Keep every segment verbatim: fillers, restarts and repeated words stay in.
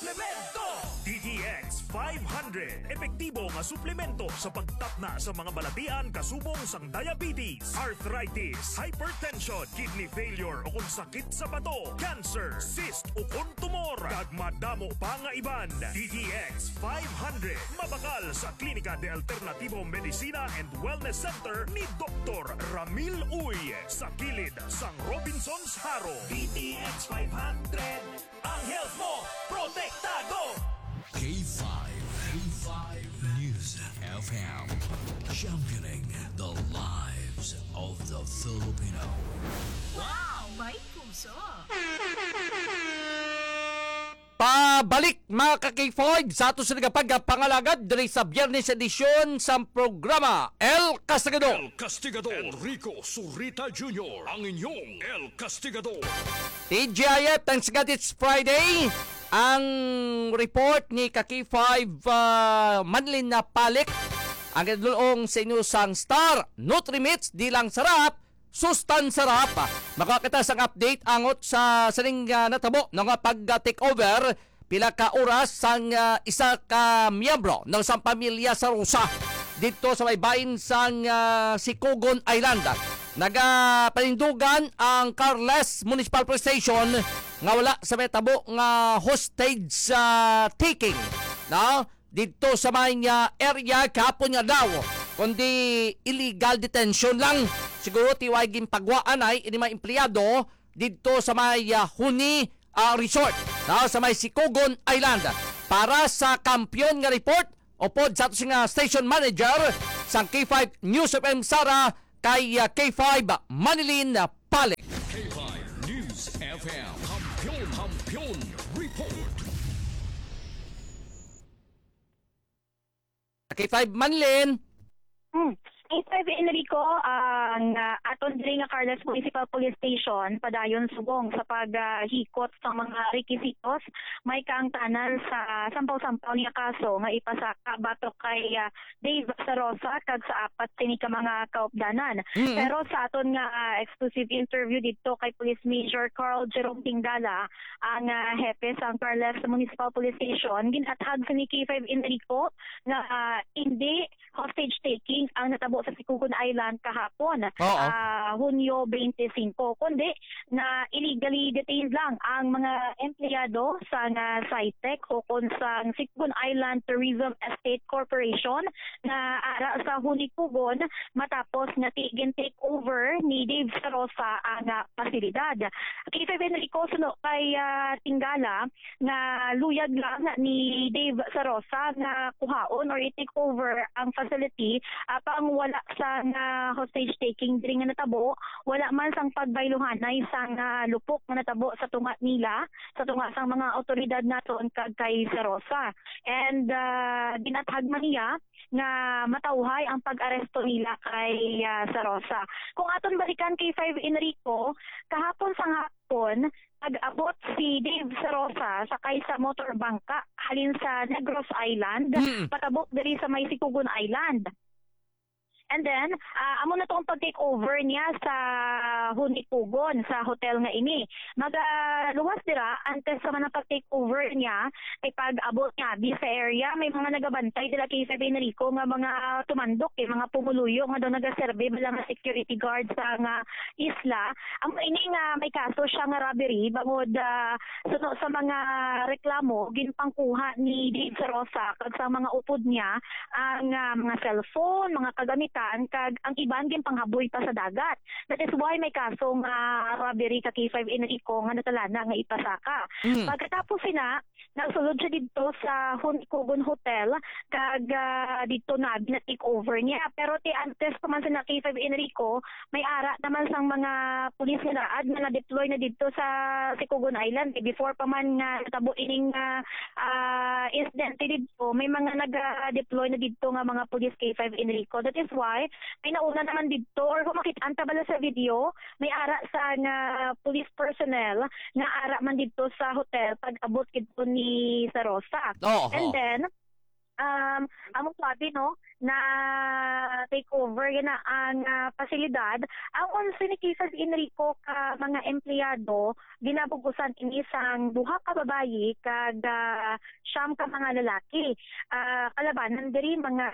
Suplemento! D T X five hundred, epektibo nga suplemento sa pagtapna sa mga balatian kasubong sang diabetes, arthritis, hypertension, kidney failure o kung sakit sa bato, cancer, cyst o kung tumor, kag madamo pa nga iban. D T X five hundred, mabakal sa Clínica de Alternativo Medicina and Wellness Center ni Doktor Ramil Uy, sa kilid sang Robinsons Jaro. D T X five hundred, ang health mo, protektado! K five, K five News F M, championing the lives of the Filipino. Wow! May puso! Pabalik, mga ka-K five, sa ato sa nagapagpangalagad diri sa Biyernes edisyon sa programa El Castigador. El Castigador. Enrico Surita Junior, ang inyong El Castigador. T G I F, thanks God it's Friday. Ang report ni ka-K five, ah, Manlin na Palik, ang ginadulong sa inyo sang Star Nutrimits, di lang sarap, sustansya ra pa. Makuha kita sang update angot sa sining, ah, natabo, no, nga pag, ah, take over pila ka oras sang, ah, isa ka miyembro, no, sang pamilya sa Rosa didto sa may bahin sang, ah, Sikugon Island. Nagapanindugan ang Carles Municipal Police Station nga wala sa may tabo nga hostage, ah, taking, no? Didto sa may, ah, area kahapon nga daw, kundi illegal detention lang. Siguro ti way ginpagwaan ay ini mga empleyado didto sa may, ah, Huni, ah, Resort, no, sa may Sikugon Island. Para sa kampiyon nga report, upod sa ato nga station manager sang K five News F M Sara, kay, ah, K five Manilin Palik. K five News F M, Kampiyon, Kampiyon Report. K five Manlin. Hmm. K five Enrico, ang, ah, aton diri nga Carles Municipal Police Station padayon subong sa paghikot sa mga rekisitos may kaangtanan sa sampaw-sampaw nga kaso nga ipasaka batok kay, ah, Dave Sarosa kag sa apat sini ka mga kaupdanan. Mm. Pero sa aton nga, ah, exclusive interview didto kay Police Major Carl Jerome Tingala, ang, ah, hepe sang Carles Municipal Police Station, gin-athag sini K five Enrico nga, ah, hindi hostage taking ang natabo sa Sikugon Island kahapon, Oo. ah, Hunyo twenty-five, kundi na illegally detained lang ang mga empleyado sang, ah, SITEC o kon sang Sikugon Island Tourism Estate Corporation nga ara sa Hunikugon matapos nga ti-, gin-take over ni Dave Sarosa ang, ah, pasilidad. K five Enrico, suno kay, ah, Tingala, nga luyag lang ni Dave Sarosa nga kuhaon or i-take over ang facility, apang wala sang hostage taking diri nga natabo, wala man sang pagbayluhanay sang, ah, lupok nga natabo sa tunga nila, sa tunga sang mga awtoridad naton kag kay Sarosa. And, ah, ginathag man niya nga matawhay ang pag-aresto nila kay, ah, Sarosa. Kung aton balikan K five Enrico, kahapon sang hapon, nag-abot si Dave Sarosa sakay sa motor bangka halin sa Negros Island, Mm. patabok diri sa may Sikugon Island. And then, ah, amo na to ang pag-take over niya sa Hunikugon, sa hotel nga ini. Magaluwas dira, antes sa man ang pag-take over niya, kay pag-abot niya, di sa area, may mga nagabantay dira kay Sir Enrico nga mga tumandok, eh, mga pumuluyo nga daw nagaserve bala nga security guard sa nga isla. Amo ini nga may kaso siya nga robbery, bangod, ah, suno sa mga reklamo, ginpangkuha ni Dave Sarosa kag sa mga upod niya ang, ah, mga cellphone, mga kagamitan, kag ang iban ginpanghaboy pa sa dagat. That is why may kaso nga robbery ka K five Enrico nga natalana nga ipasaka. Mm. Pagkatapos sina, nagsulod siya didto sa Hunikugon Hotel, kag, ah, didto na gina-take over niya. Pero ti antes pa man sa na K five Enrico, may ara naman sang mga pulis nga naad nga na-deploy na didto sa Sikugon Island. Eh, before pa man nga natabo ining, ah, ah, insidente didto, may mga nag-deploy na didto nga mga pulis K five Enrico. That is why may nauna naman didto, or kung makit-an ta bala sa video, may ara sa nga police personnel nga ara man didto sa hotel pag-abot didto ni Sarosa. Oo. And then, um, amo sabi, no, na take over yana ang, ah, pasilidad. Ang onse ni K five Enrico ka mga empleyado, ginabug-usan ini sang duha ka babayi kag, ah, siyam ka mga lalaki. Ah, kalabanan diri mga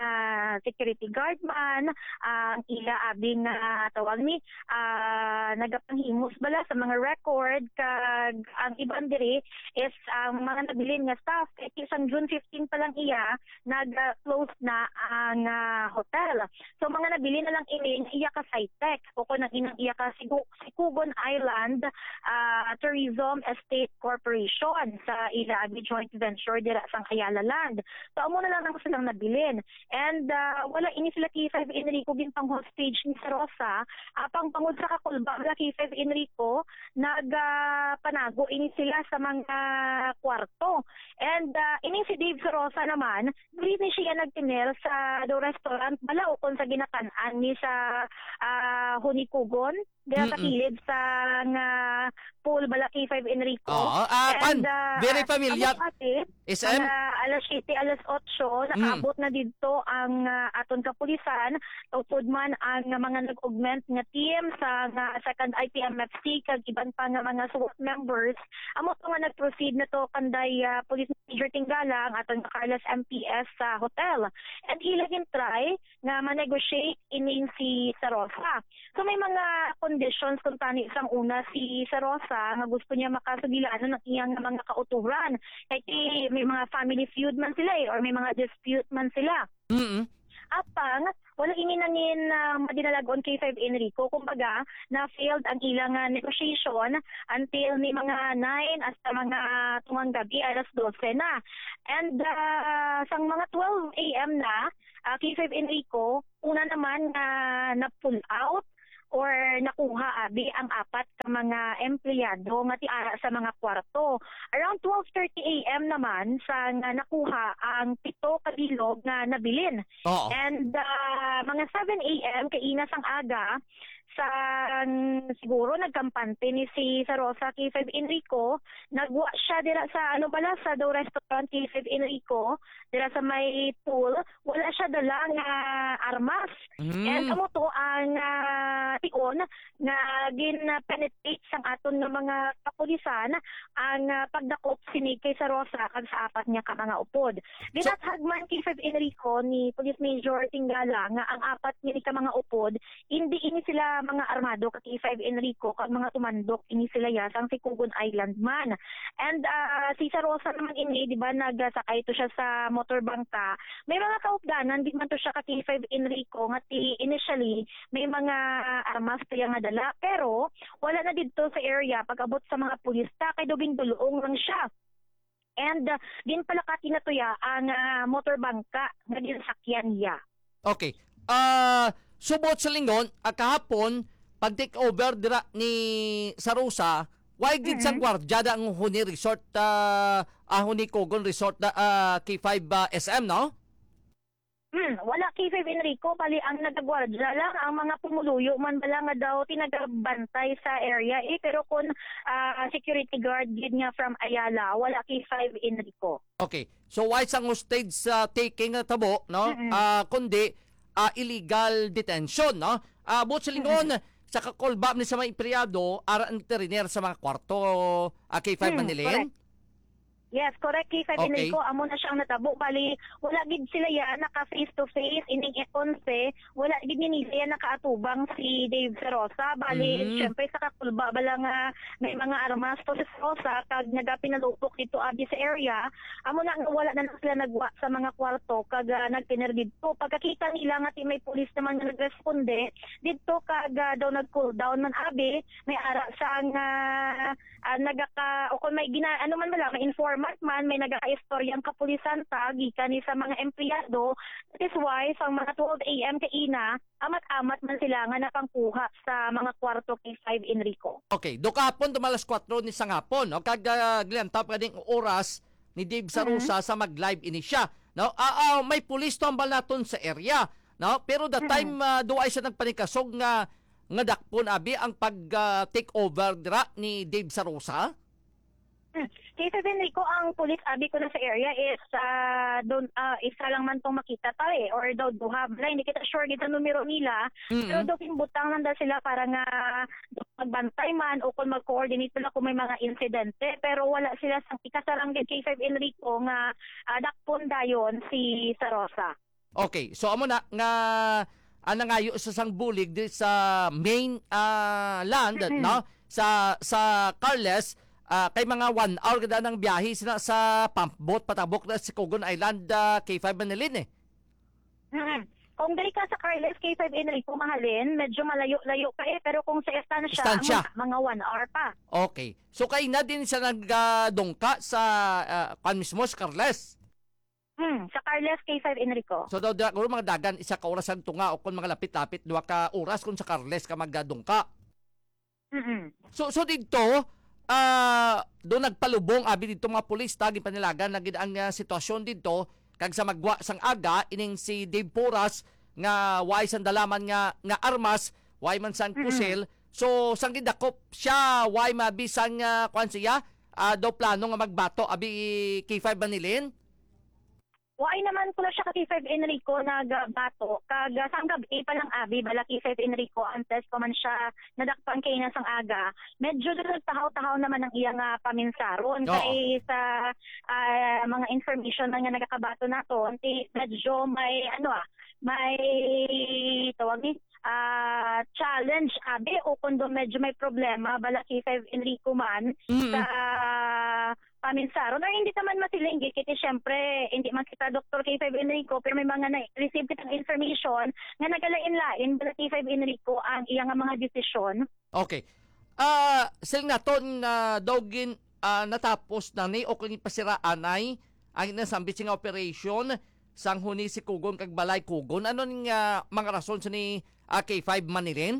security guard man, ang ila abi nga tawag ni, ah, nagapanghimos bala sa mga record, kag ang iban diri is ang mga nabilin nga staff. Kay sang June fifteen pa lang iya, nag-close na ang, ah, hotel. So, mga nabilin na lang ini nga iya ka Sitec o kon ang inang iya ka Sigu-, Sikugon Island, ah, Tourism Estate Corporation sa ila abi joint venture dira sang Ayala Land. So, amo na lang ang silang nabilin. And, ah, wala ini sila K five Enrico ginpang-hostage ni Sarosa, apang bangod sa kakulba nila K five Enrico, nag, ah, panago ini sila sa mga kwarto. And, ah, ini si Dave Sarosa naman, dili ni siya nagtener sa do restaurant bala ukon sa ginakan-an ni sa, ah, Honeycogon, dira sa Mm-mm. kilid sa nga pool bala K five Enrico. Oo, ah, And, pan, very familiar. Amo pati, S M? Mga alas siyete, alas otso, Mm. nakaabot na didto ang, ah, aton kapulisan. Upod man ang mga nag-augment nga team sa nga second I P M F C kag iban pa nga mga SWAT members, amo to nga nag-proceed na to kanday, ah, Police Major Tingala, ang aton nga Carlos M P S sa hotel. And ila gintry nga ma-negotiate ining si Sarosa. So may mga conditions kung tani sang una si Sarosa nga gusto niya makasugilanon ang iyang mga kauturan. Kay ti-, may mga family feud man sila eh, or may mga dispute man sila. Mm-mm. Apang, wala ini nangin, ah, madinalag-on K five Enrico. Kumbaga, na-failed ang ilang, ah, negotiation until ni mga nine hasta mga tungang gabi, alas dose na. And, ah, sang mga twelve A M na, ah, K five Enrico, una naman nga na-pull out or nakuha abi ang apat ka mga empleyado nga tiara sa mga kwarto. Around twelve thirty A M naman sa nga nakuha ang pito ka bilog nga nabilin. Oo. And, ah, mga seven A M kaina sang aga, sang siguro nagkampante ni si Sarosa K five Enrico, nagwa siya dira sa, ano bala, sa daw restaurant K five Enrico, dira sa may pool, wala siya dala nga armas. Mm. And amo to ang, ah, tion nga gin-penetrate sang aton nga mga kapulisan ang, ah, pagdakop sini kay Sarosa kag sa apat niya ka mga upod. Ginathag man kay Five Enrico ni Police Major Tingala nga ang apat niya ka mga upod, hindi ini sila mga armado ka kay Five Enrico, kag mga tumandok ini sila ya sang Sikugon Island man. And, ah, si Sarosa naman ini, di ba, nagsakay to siya sa motor bangka. May mga kaupdanan, di man to siya ka K five Enrico, nga ti-, initially, may mga armas to iya nga dala. Pero, wala na didto sa area pag-abot sa mga pulis ta, kay daw gindulong lang siya. And, ah, ginpalakati na to ya ang, ah, motor bangka nga ginasakyan niya. Okay. Ah, subot sa lingon, ah, kahapon, pag take over dira ni Sarosa, way gid sang Mm-hmm. gwardiya da ang Huni Resort, ah, ah, Huni Kogon Resort, ah, ah, K five, ah, S M, no? Hmm, wala K five Enrico, bali ang nagagwardya lang ang mga pumuluyo man bala nga daw tinagabantay sa area eh, pero kung, ah, security guard gid nga from Ayala, wala K five Enrico. Okay. So, why sang hostage, ah, taking na tabo, no? Mm-mm. Ah, kundi, ah, illegal detention, no? Ah, buot silingon, Mm-mm. sa kakulba ni sa mga empleyado, ara ang teriner sa mga kwarto, ah, K five Mm, Manilin? Correct. Yes, correct, K five Okay. Enrico, amo na siyang natabo. Bali, wala gid sila yan naka face to face, ining onse, wala gid ni nila yan nakaatubang si Dave Sarosa. Bali, Mm. syempre, sa kakulba bala nga may mga armas to si Sarosa, kag nagapinalupok dito abi sa area. Amo na nga wala na lang sila nagwa sa mga kwarto, kag, ah, nagpiner dito. Pagkakita nila nga ti may pulis naman nga nagresponde dito, kag, ah, daw nag-cool down man abi, may ara sang, ah, ah, nagaka-, o kung may gina-, ano man bala, may informant man, may nagaka-istorya ang kapulisan ta, gikan ni sa mga empleyado. That is why, sa mga twelve A M kaina, amat-amat man sila nga nakangkuha sa mga kwarto kay Five Enrico. Okay, do kahapon, tuma alas kwatro ni sa hapon, no? Kag, ah, gliantap ka ding oras ni Dave Sarosa Mhm. sa mag-live ini siya, no? Ah, ah, may pulis to ang balaton sa area, no? Pero the Mhm. time, ah, do ay siya nagpanikasog nga, nga dakpon, abi, ang pag, ah, take over dira ni Dave Sarosa? Hmm. K five Enrico, ang police abi ko na sa area is, ah, don, ah, isa lang man tong makita ta, eh, or daw duha. Bala, hindi kita sure gid sa numero nila, pero Mm. daw ginbutang lang daw sila para nga magbantay man o kung mag-coordinate sila kung may mga insidente. Pero wala sila sa ikasarang gid K five Enrico nga, ah, dakpon dayon si Sarosa. Okay, so amo na nga, ah, nangayo sa sang bulig di sa main, ah, land, Mm-mm. no? Sa, sa Carles, ah, kay mga one hour kada nang biyahe sila sa pump boat patabok na sa Sikugon Island, ah, K five Manilin, eh. Mm-mm. Kung diri ka sa Carles, K five Enrico, mahalin, medyo malayo-layo ka, eh, pero kung sa Estancia, Estancia. Mga, mga one hour pa. Okay. So, kay na din siya nagdungka sa, ah, kwan mismo, sa Carles? Hmm, sa Carles, K five Enrico. So, daw, daw, mga dagan, isa ka oras ang tunga, o kung mga lapit-lapit, duha ka oras kung sa Carles ka magdadungka. Mm-mm. So, so dito, ah, do nagpalubong, abi dito mga pulis, ta, ginpanilagan na gid ang, ah, sitwasyon dito, kag sa magwa sang aga, ining si Dave Poras, nga way sang dalaman nga, nga armas, way man sang Mm-mm. pusil. So, sang gidakop siya, way mabi sang, ah, kwan siya, ah, do plano nga magbato, abi K five Manilin? Waay naman ko na siya ka K five Enrico nagbato, kag, ah, sang gab-i pa lang abi, bala K five Enrico, antes pa man siya nadakpan kay na sang aga, medyo doon nagtahaw-tahaw naman ang iya nga paminsaron. Oo. Kay sa, ah, mga information man nga nagakabato naton, ti, medyo may, ano, ah, may tawag ni, ah, challenge, abi, o kung doon medyo may problema, bala K five Enrico man, Mm. sa paminsaron, or hindi naman masiling, kay siyempre, hindi man kita Doktor K five Enrico, pero may mga na-receive kitang information nga nagalain-lain bala K five Enrico ang iya nga mga desisyon. Okay. Ah, siling naton na daw gin, ah, natapos na ni o kung ipasiraan ay ang nasambit nga operasyon sang huni si Kugon kag Balay Kugon. Ano ning, ah, mga rason sa ni, ah, K five Manilin?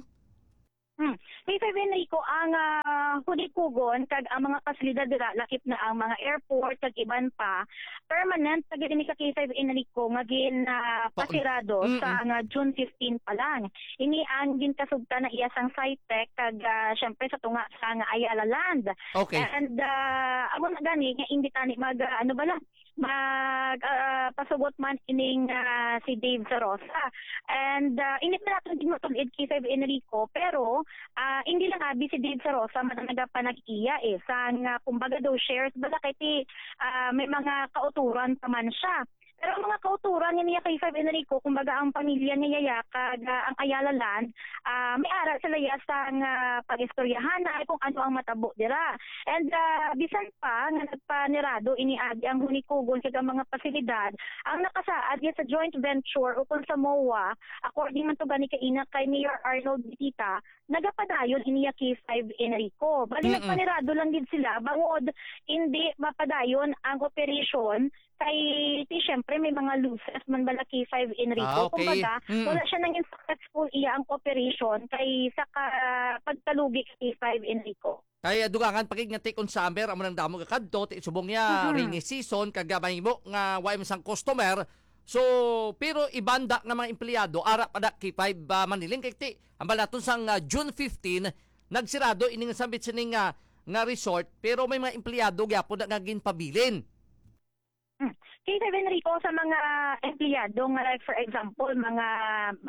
Hmm. K five Enrico, ang, ah, Huni Kugon kag ang mga pasilidad dira, lakip na ang mga airport kag iban pa, permanent na gid ini ka K five Enrico nga gin, ah, Pa-, pasirado mm, sa mm. nga June fifteen pa lang. Ini ang ginkasugtan na iya sang Sitec kag, ah, syempre sa tunga sa nga Ayala Land. Okay. And, ah, amo na gani nga hindi tani mag, ah, ano bala, mag, ah, pasugot man ining, ah, si Dave Sarosa. And, ah, hindi pa natin din matulid kay Sir Enrico, pero, ah, hindi lang abi si Dave Sarosa man ang nagapanag-iya, eh. Sang, ah, kumbaga daw shares, bala kay ti, ah, may mga kauturan pa man siya. Pero ang mga kauturan nga niya kay Sir Enrico, kumbaga ang pamilya niya ya, kag, ah, ang Ayala Land, ah, may ara sila ya sang, ah, pag-istoryahanay kung ano ang matabo dira. And, ah, bisan pa nga nagpanirado ini agi ang Huni Kugon kag ang mga pasilidad, ang nakasaad ya sa joint venture o kung sa MOA, according man to gani kaina kay Mayor Arnold Bitita, nagapadayon ini ya K five Enrico. Bali, Mm-mm. nagpanirado lang gid sila bangod hindi mapadayon ang operation kay ti, syempre, may mga losses man bala K five Enrico. Ah, okay. Kumbaga, Mm. wala siya nangin successful iya ang operation kay sa ka-, pagkalugi kay K five Enrico. Kay, ah, dugangan pa gid nga ti kon summer amo nang damo gakadto, ti subong niya Mm-hmm. rainy season, kag, ah, mahimo nga wa man sang customer. So, pero iban da nga mga empleyado, ara pa da K five, ah, Manilin, kay ti, ang balaton sang, ah, June fifteen, nagsirado ini nga sambit sini nga, nga resort, pero may mga empleyado gyapon da nga ginpabilin. Hmm. Kay Sir Enrico, sa mga empleyado nga, like, for example, mga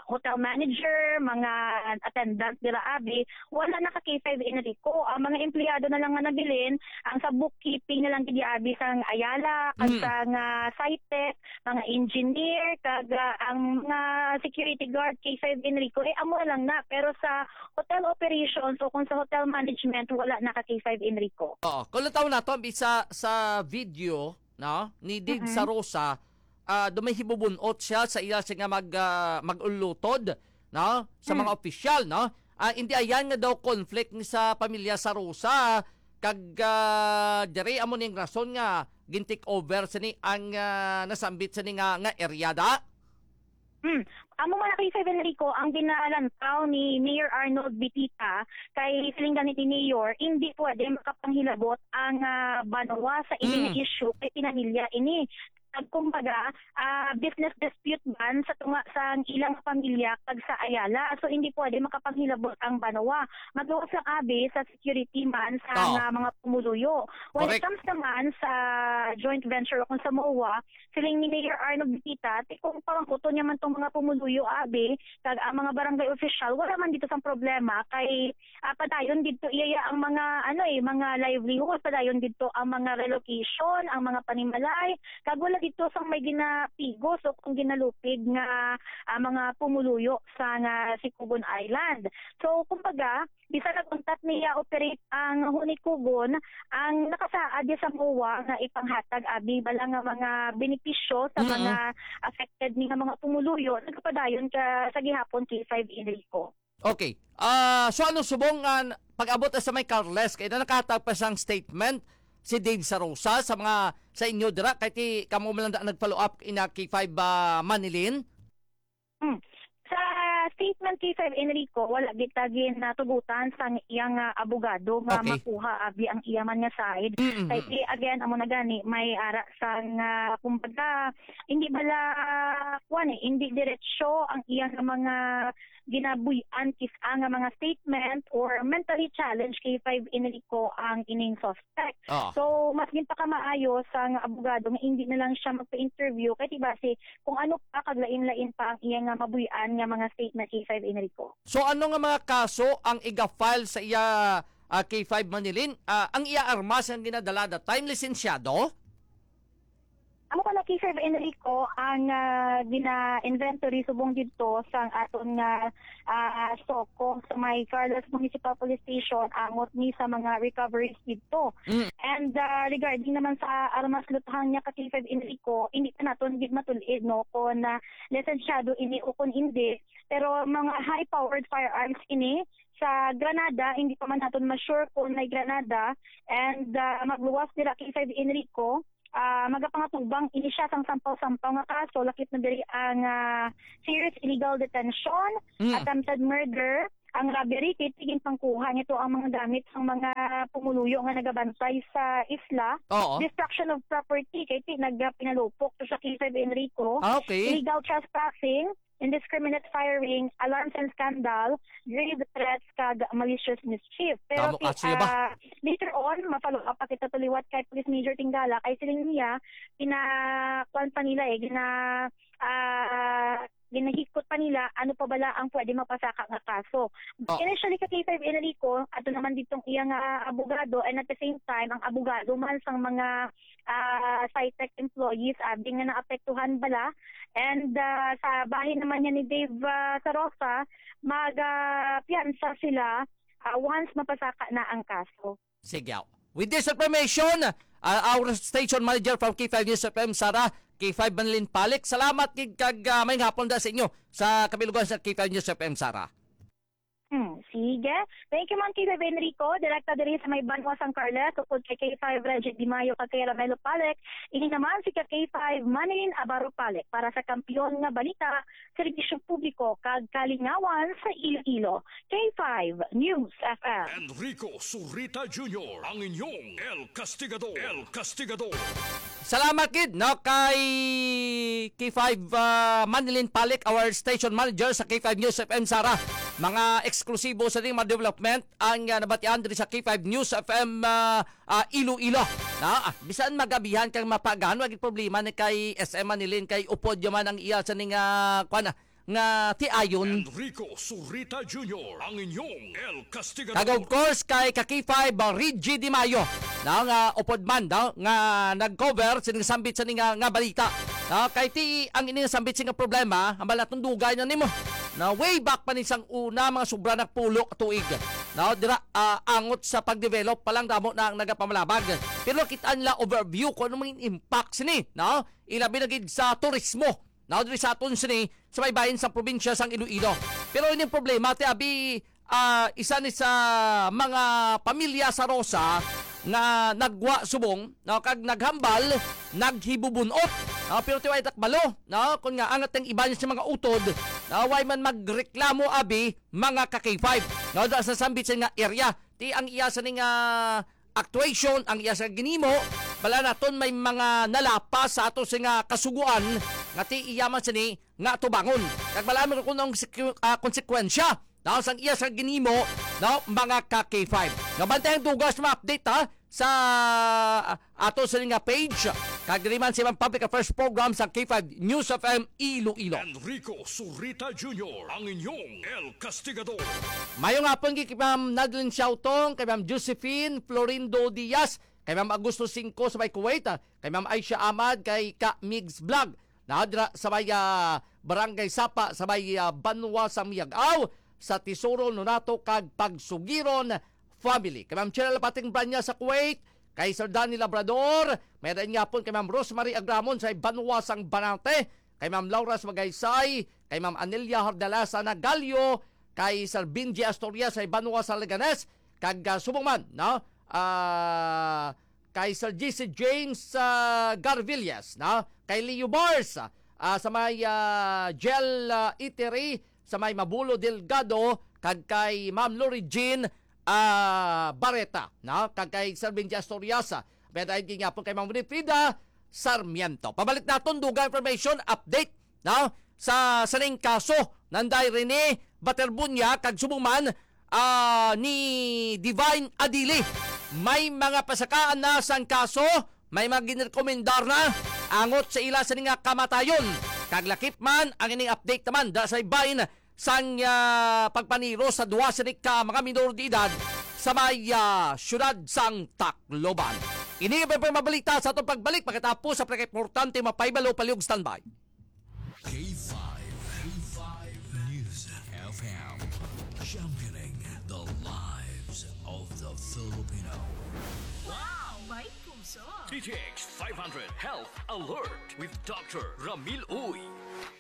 hotel manager, mga attendant dira abi, wala na ka K five Enrico. Ang mga empleyado na lang nga nabilin, ang sa bookkeeping na lang gid abi sang Ayala, kag Mm. sa nga Sitec, mga engineer, kag, ah, ang mga security guard, K five Enrico, eh, amo na lang na. Pero sa hotel operations o kung sa hotel management, wala na ka K five Enrico. Oo. Kung lang tawon nato, ang bisa sa video, no, ni Dave Mm-mm. Sarosa, ah, do may hibubun-ot siya sa iya siya nga mag, ah, mag-ulutod, no, sa Mm. mga opisyal, no? Ah, hindi ayan nga daw conflict ni sa pamilya Sarosa, kag, ah, diri amo ning rason nga gin-take over sini ang, ah, nasambit sini nga, nga area da. Hmm. Amo man na kay Sir Enrico, ang ginalantaw ni Mayor Arnold Bitita kay siling gani ni Mayor, hindi pwede makapanghilabot ang, ah, banwa sa ini nga Mm. issue kay pinamilya ini. pag, kumbaga, ah, business dispute ban sa tunga sang ilang pamilya kag sa Ayala. So, hindi pwede makapanghilabot ang banwa. Magawas lang abi sa security man sa Oo. nga mga pumuluyo. When it Correct. comes naman sa joint venture o kung sa MOA, siling ni Mayor Arnold Bikita, ti kung pangkuton niya man tong mga pumuluyo abi, kag ang mga barangay official, wala man dito sang problema kay, ah, padayon dito iya ang mga, ano eh, mga livelihood, padayon dito ang mga relocation, ang mga panimalay, kag wala dito sang may ginapigos o kung ginalupig nga, ah, mga pumuluyo sa nga Sicogon Island. So, kumbaga, bisan nag-untat niya operate ang Hunikugon, ang nakasaad niya sa MOA nga ipanghatag abi bala nga mga benepisyo sa Mm-mm. mga affected ni nga mga pumuluyo, nagapadayon ka sa gihapon, K five Enrico. Okay. Ah, so ano subong nga pag-abot sa may Carles, kay na nakahatag pa sang statement si Dave Sarosa sa mga, sa inyo dira, kay ti kamo man lang da nag-follow up ina K five, ah, Manilin? Hmm. Sa statement, K five Enrico, wala kita ginatugutan sang iyang, ah, abogado nga Okay. makuha abi ang iya man nga side. Mm-mm. Kay ti, again, amo na gani, may ara sang, ah, kumbaga, hindi bala, kuwan eh, hindi diretsyo ang iyang mga ginabuy-an kis-a nga mga statement or mentally challenged, K five Enrico, ang ining suspect. Ah. So, mas ginpakamaayo sang abogado nga hindi na lang siya magpa-interview kay ti basi kung ano pa kag lain-lain pa ang iya nga mabuy-an nga mga statement, K five Enrico. So, ano nga mga kaso ang iga-file sa iya, ah, K five Manilin? Ah, ang iya armas nga ginadala that time, lisensyado? Amo pala, K five Enrico, ang, ah, gina-inventory subong didto sang aton nga, ah, SOCO sa may Carles Municipal Police Station, angot ni sa mga recoveries didto. Mm. And, ah, regarding naman sa armas luthang niya ka K five Enrico, hindi pa naton gid matul-id, no, kung, ah, lisensyado ini o kung hindi. Pero mga high-powered firearms ini, sa granada, hindi pa man naton ma-sure kung may granada. And, ah, magluwas dira K five Enrico, ah, magapangatubang ini siya sang sampaw-sampaw nga kaso, lakip na diri ang, ah, serious illegal detention, Mm. attempted murder, ang robbery, kay ti ginpangkuha nito ang mga gamit sang mga pumuluyo nga nagabantay sa isla, Oo. destruction of property, kay ti nagpinalupok to sa K five Enrico, Ah, okay. illegal trespassing, indiscriminate firing, alarms and scandal, grave threats, kag malicious mischief. Pero Tama ti, ka, sila ba? ah, later on, ma-follow up pa kita to liwat kay Police Major Tingala, kay siling niya, pina-, kuwan pa nila eh, gina-, ah, ginahikot pa nila ano pa bala ang pwede mapasaka nga kaso. Oh. Initially, ka K five Enrico, ato naman ditong iya nga abogado, and at the same time, ang abogado man sang mga, ah, SITEC employees, abi nga naapektuhan bala. And, ah, sa bahin naman niya ni Dave, ah, Sarosa, mag, ah, piyansa sila, ah, once mapasaka na ang kaso. Sige. With this information, uh, our station manager from K five News F M, Sarah, K five Manlin Palik. Salamat gid kag, uh, may hapon da sa inyo sa kabilugan sa K five News F M, Sarah. Hmm, sige. Thank you man, K five Enrico. Direkta diri sa may banwa sang Carles, upod kay K five Reggie Di Mayo kag kay Ramelo Palik. Ini naman si ka K five Manilin Abaro Palik para sa Kampiyon nga Balita, Serbisyo Publiko kag Kalingawan sa Iloilo. K five News F M. Enrico Surita Junior, ang inyong El Castigador. El Castigador. Salamat gid, no, kay K five, ah, Manilin Palik, our station manager sa K five News F M, Sarah. Mga eksklusibo sa ning mga development ang, ah, nabatian diri sa K five News F M, ah, ah, Iloilo. Na, ah, bisan magabihan kang mapagan, wag problema ni kay S M Manilin, kay upod yaman ang iya sa ning, ah, kwan, ah, nga tiayon. Enrico Surita Junior, ang inyong El Castigador. Kag of course, kay ka K five, ah, Reggie Di Mayo, na nga upod man, no, nga nag-cover sining sambit sa ning, ah, nga balita. No, kay ti ang ini nga sambit sa nga problema, ang balatong dugay na nimo. Na way back pa ni sang una, mga sobra nagpulo ka tuig. No, dira, ah, angot sa pag-develop pa lang, damo na ang nagapamalabag. Pero kita nila overview kung ano mga impact sini, no? Ilabi na gid sa turismo. Now, diri sa aton sini, sa may bahin sa probinsya sang Iloilo. Pero ining problema, ti abi, ah, isa ni sa mga pamilya sa Rosa nga nagwa subong, no, kag naghambal, naghibubunot. No, pero ti way takbalo, no, kun nga angat ang iban sa mga utod, no, way man magreklamo abi mga ka K five. No, da sa sambit sa nga area, ti ang iya sa ning, ah, actuation ang iya sa ginimo, Bala naton may mga nalapas sa ato sing, ah, kasugoan nga ti iya man sini nga atubangon. Kag bala mo kung ang seku-, ah, konsekwensya, no, sang iya sa ginimo, no, mga ka K five. No, bantay ang dugang sa mga update, ha, sa, ah, ato sini nga page. Kag diri man sa ibang public affairs program sa K five News F M Iloilo. Enrico Surita Junior, ang inyong El Castigador. Mayong hapon kay Ma'am Nadlin Siautong, kay Ma'am Josephine Florindo Diaz, kay Ma'am Augusto Cinco sa may Kuwait, ah, kay Ma'am Aisha Ahmad, kay Ka Migs Vlog. Naa dira sa may, ah, Barangay Sapa, sa may, ah, Banwa sa Miag-aw, sa Tesoro, Nonato, kag Pagsugiron family. Kay Ma'am Cheryl Pating Branya sa Kuwait, kay Sir Danny Labrador, may dayon gihapon kay Ma'am Rosemary Agramon sa Banwa sang Banate, kay Ma'am Laura sa Magaysay, kay Ma'am Anelia Hordalasa Nagalio, kay Sir Benji Astorias sa Banwa sa Leganes, kag, ah, subong man, no? Ah, kay Sir G C James, ah, Garvillas, no? Kay Leo Bars, ah, sa may, ah, Gel, ah, Eatery, sa may Mabulo Delgado, kag kay Ma'am Lori Jean, ah, Barreta, no? Kag kay Sir Benji Astorias, ah, may dayon gihapon kay Ma'am Winifrida Sarmiento. Pabalik naton, dugang information, update, no? Sa sining kaso, nanday Rene Baterbunya, kag subong man, ah, ni Divine Adili. May mga pasakaan na sang kaso, may mga ginrekomendar na angot sa ila sini nga kamatayon. Kag lakip man ang ining update naman da sa ibahin sang, ah, pagpaniro sa duha sini ka mga minor de edad sa may, ah, siyudad sang Tacloban. Ini ang mabalita sa atong pagbalik pagkatapos sa pinakaimportante mapahibalo, palihog standby. K five, K five News F M, championing the lives of the Filipino. Wow! May puso! D T X five hundred Health Alert with Doctor Ramil Uy.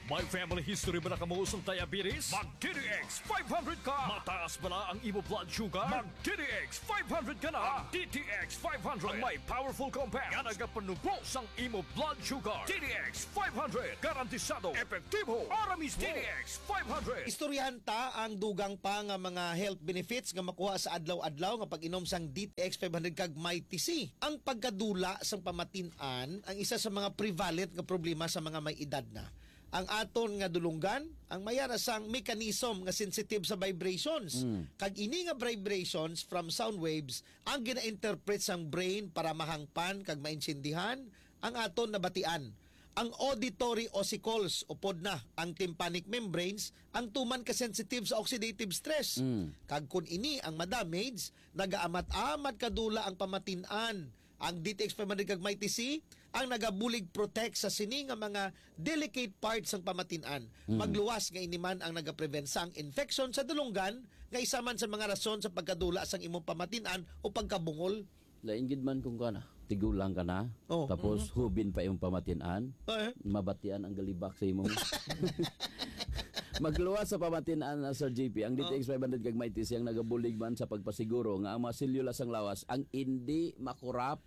May family history ba na kamo sang diabetes? Mag D T X five hundred ka! Mataas ba na ang imo blood sugar? Mag D T X five hundred ka na! Ang D T X five hundred ang may powerful compound nga nagapanubo sang imo blood sugar. D T X five hundred, garantisado, epektibo, para mismo. D T X five hundred. Istoryahan ta ang dugang pa nga mga health benefits nga makuha sa adlaw-adlaw nga pag-inom sang D T X five hundred kag Mighty C. Ang pagkadula sang pamatin-an ang isa sa mga prevalent nga problema sa mga may edad na. Ang aton nga dulonggan, ang may ara sang mechanism nga sensitive sa vibrations. Mm. Kag ini nga vibrations from sound waves ang gina-interpret sang brain para mahangpan kag maintindihan ang aton nabatian. Ang auditory ossicles, upod na ang tympanic membranes, ang tuman ka sensitive sa oxidative stress. Mm. Kag kun ini ang madamage, nagaamat-amat kadula ang pamatin-an. Ang D T X five hundred kag Mighty C ang nagabulig protect sa sini nga mga delicate parts sang pamatin-an. Mm. Magluwas nga ini man ang nagaprevent sang infection sa dulonggan, nga isa man sa mga rason sa pagkadula sang imong pamatin-an o pagkabungol. Lain gid man kung kana, tigulang ka na, Oh. tapos Mhm. hubin pa imong pamatin-an, Eh. mabatian ang galibak sa imo. Magluwas sa pamatin-an na, Sir J P, ang Oh. D T X five hundred kag Mighty C ang nagabulig man sa pagpasiguro nga ang mga selula sang lawas ang indi makorap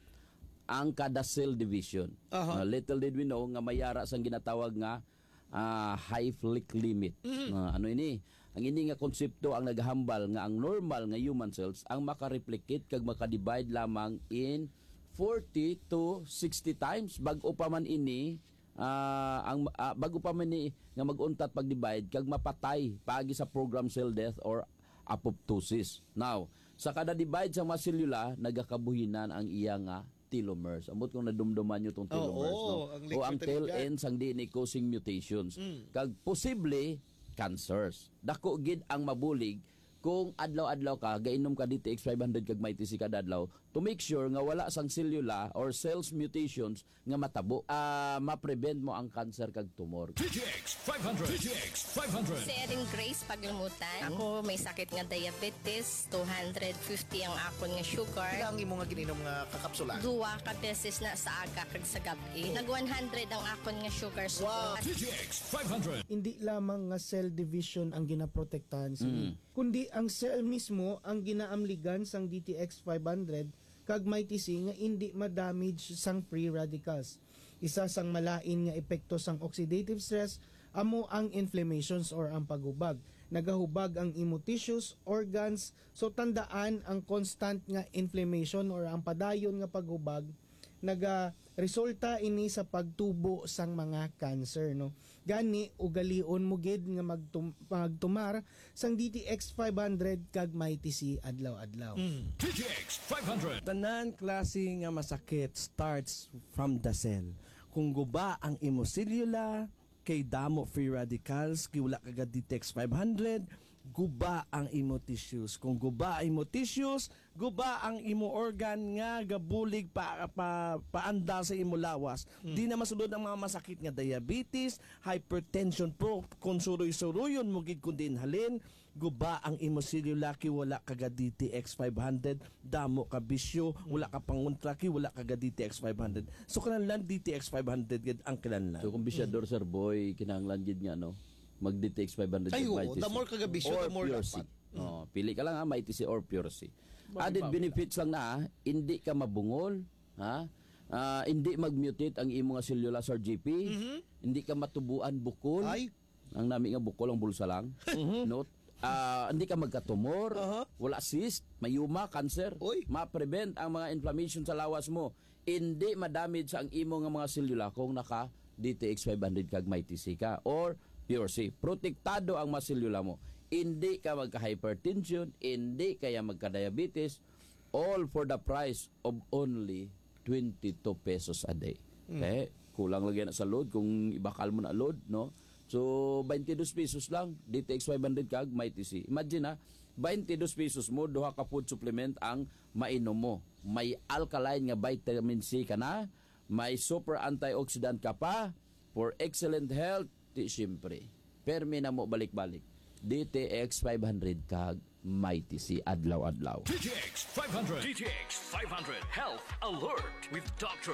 ang kada cell division. Aha. Ah, little did we know nga may ara sang ginatawag nga, ah, Hayflick limit. Mhm. Ah, ano ini? Ang ini nga konsepto ang nagahambal nga ang normal nga human cells ang makareplicate kag makadivide lamang in forty to sixty times. Bag-o pa man ini, ah, ang, ah, bag-o pa man ni nga mag-untat pag-divide kag mapatay paagi sa programmed cell death or apoptosis. Now, sa kada divide sa mga selula, nagakabuhinan ang iya nga telomers. Ambot kung nadumduman nyo tong Oo, telomeres, no? ang O ang lecture tail talaga. end sang D N A causing mutations. Mm. Kag posible, cancers. Dako gid ang mabulig kung adlaw-adlaw ka, gainom ka D T X five hundred kag Mighty C kada adlaw to make sure nga wala sang selula or cells mutations nga matabo. Ah, ma-prevent mo ang cancer kag tumor. D T X five hundred. D T X five hundred. Si Erin Grace Paglamutan. Ako may sakit nga diabetes, two hundred fifty ang akon nga sugar. Pila ang imo nga gininom nga kakapsula? Duwa ka beses na sa aga kag sa gab-i. Nag one hundred ang akon nga sugar. Wow. D T X five hundred. Hindi lamang nga cell division ang ginaprotektahan sini, Mm. kundi ang cell mismo ang ginaamligan sang D T X five hundred kag Mighty C nga indi ma-damage sang free radicals. Isa sang malain nga epekto sang oxidative stress amo ang inflammations or ang paghubag. Nagahubag ang imo tissues, organs, so tandaan ang constant nga inflammation or ang padayon nga paghubag Nagaresulta ini sa pagtubo sang mga cancer, no? Gani, ugalion mo gid nga magtum-, magtumar sang D T X five hundred kag Mighty C adlaw-adlaw. D T X five hundred. Tanan klase nga masakit starts from the cell. Kung guba ang imo selula, kay damo free radicals, kay wala ka ga D T X five hundred, guba ang imo tissues. Kung guba ang imo tissues, guba ang imo organ nga gabulig pa, pa paanda sa imo lawas. Di na masulod ang mga masakit nga diabetes, hypertension po, kung suroy-suroyon mo gid kung diin halin, guba ang imo selula kay wala ka ga D T X five hundred, damo ka bisyo, wala ka pangontra kay wala ka ga D T X five hundred. So, kinahanglan D T X five hundred gid ang kinahanglan. So kung bisyador, Sir Boy, kinahanglan gid nga, no, mag D T X five hundred Ay, kag oo. Mighty The C. more ka ga bisyo, Or the more Pure dapat. C. Oh, pili ka lang, ha, Mighty C or Pure C. Added benefits lang na, ha, hindi ka mabungol, ha? Ah, hindi mag-mutate ang imo nga selula, Sir G P. Hindi ka matubuan bukol. Ay. Ang nami nga bukol ang bulsa lang. No? Ah, hindi ka magkatumor, Aha. wala cyst, myoma, cancer. Oy. Ma-prevent ang mga inflammation sa lawas mo. Hindi ma-damage ang imo nga mga selula kung naka D T X five hundred kag Mighty C ka or Pure C. Protektado ang mga selula mo. Hindi ka magka-hypertension, hindi kaya magka-diabetes, all for the price of only twenty-two pesos a day. Okay? Kulang lagi na sa load kung ibakal mo na load, no? So, twenty-two pesos lang, D T X five hundred kag Mighty C. Imagine, ha, twenty-two pesos mo, duha ka food supplement ang mainom mo. May alkaline nga vitamin C ka na, may super antioxidant ka pa, for excellent health, di siyempre. Permi na mo balik-balik. D T X five hundred kag Mighty C adlaw-adlaw. D T X five hundred. D T X five hundred Health Alert with Doctor